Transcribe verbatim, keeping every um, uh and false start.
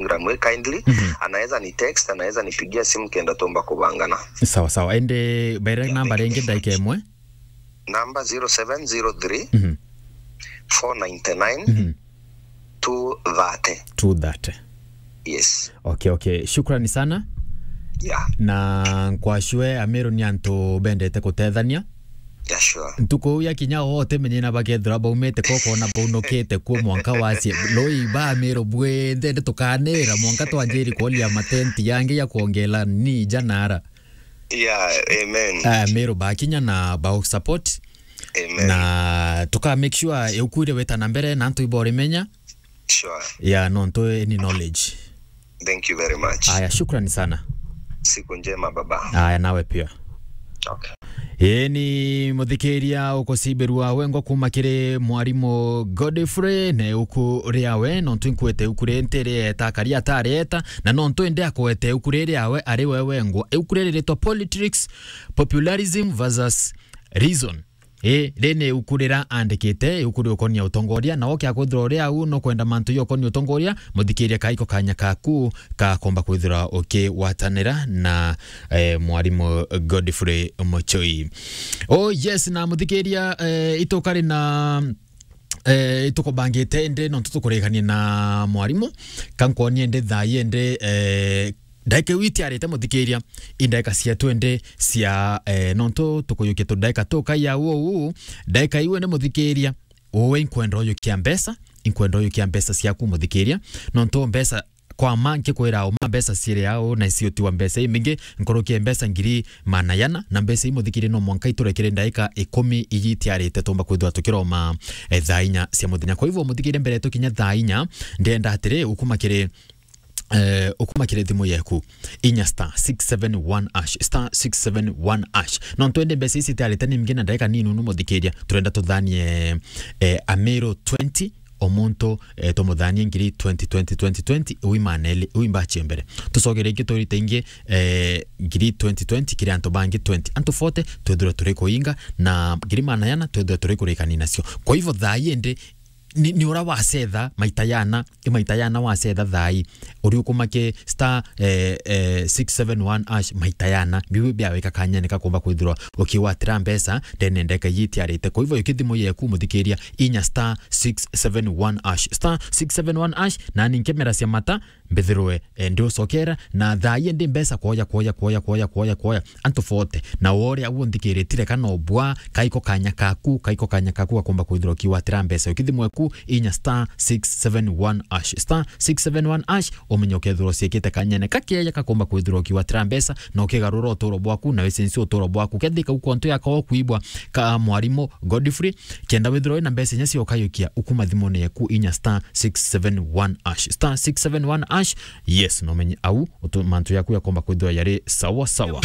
Instagram, eh, kindly. Mhm. Anaweza ni text, anaweza nipigia simu kenda tumba kubangana. Sawa, sawa. Ende, bere namba ringi ndaika imwe. Namba zero seven zero three, mhm, four ninety nine, mhm, two thirty. Two thirty. Yes. Okay, okay. Shukrani sana. Yeah. Na nkwashwe Amiru ni antu bendete kutethania. Yeah, sure. Ntuku ya kinya wote menyena bakethira baumite koko na baunukite kuo mwanka wacie. Loi ba Amiru bwende nde tukanira mwanka twanjiri kuolia matenti yangi ya kuongela ni janara. Yeah, amen. Ah, Amiru bakinya na ba support. Amen. Na tuka make sure iuku ire weta na mbere na antu iborimenya. Sure. Yeah, no ntu ni knowledge. Thank you very much. Aya, shukrani sana. Siku njema, baba. Aya, nawe pia. Okay. Ii ni muthikiria ukucibirua wengwa kuma kiri mwarimu Godfrey, na iuku riawe, nontu inkwite iuku ri nti rieta, akari atarieta, na nontu indi akwete iuku ri riawe ari we wengwa. Iuku riri ritwa Politics, Popularism versus Reason. Ii, ri ni iuku rira andikite, iuku riukonia utongoria, na oke akwithirwa uri au nukwenda mantu yokonia utongoria, muthikiria kaiko kanya kaku kakomba kwithirwa ukigwatanira na, eh, mwarimu Godfrey Muchoi. Oh yes, na muthikiria, eh, itukari na, eh, itukubangite indi nontu tukurikania na mwarimu, kankonie indi thaa ii indi, eh, ndaika iu itiarite muthikiria, i ndaika cia twendi cia, eh, nontu tukuyukia tu ndaika tukai au uu, ndaika iu indi muthikiria, uwe inkwenda uyukia mbeca, inkwenda uyukia mbeca ciaku muthikiria, nontu mbeca kwa ma nkikwira uma mbeca ciiri au na iciotiwa mbeca imingi nkurukie mbeca ngiri maana yana, na mbeca ii muthikiria no mwanka iturekere ndaika ikumi iji itiarite tumba kwithirwa tukiroma, eh, thaa inya cia muthenya. Kwa hivyo muthikiria mbere tukinya thaa inya, ndenda atiri ukuma kiri eh, ukuma kiri thimu yeku, inya star six seven one hash, star six seven one hash. No twende mbeca ici tiarite ni mingi na ndaika nini unu muthikiria, turenda tuthanie, eh, Amiru twenty, o muntu, eh, tumuthanie ngiri twenty, twenty, twenty, twenty, ui maneli, ui mbachi mbere. Tucogere ingi turite ingi, eh, ngiri twenty twenty kiri antu bangi twenty. Antu forty twethirwe turi kuinga, na ngiri maana yana twethirwe turi kurikania nacio. Kwa hivyo thaa ii indi ni, ni ura wacetha maita yana, i maita yana wacetha thaa ii, uri ukumake star, eh, eh, six seven one hash maita yana, biu biawika kanyene kakumba kwithirwa ukigwatira mbeca ndene ndeka ii itiarite. Kwa hivyo, yuki thimu yeku muthikiria, inya star six seven one hash, star six seven one hash, na ni nkemera cia mata, mbithirwe, eh, ndi ucokera, na thaa ii ndi mbeca kwoya, kwoya, kwoya, kwoya, kwoya, kwoya. Antu forty. Na wore au nthikiritire kana obwa, kaiko kanya kaku, kaiko kanya kaku gakomba kwithirwa ukigwatira mbeca. Ukithi mweku, inya star six seven one hash. Star six seven one hash, umenye ukethirwa uciikite kanyene kakeya kakomba kwithirwa ukigwatira mbeca, na ukigarura uturo bwaku, na wicenjie uturo bwaku. Kethika uko ntu yako kwibwa ka mwarimu Godfrey, kenda withirwa wina mbeca inya cia ukayukia, ukuma thimune yaku inya star six seven one hash. Star six seven one hash, yes, no menye au, utu-, mantu yaku yakomba kwithirwa yari sawa sawa.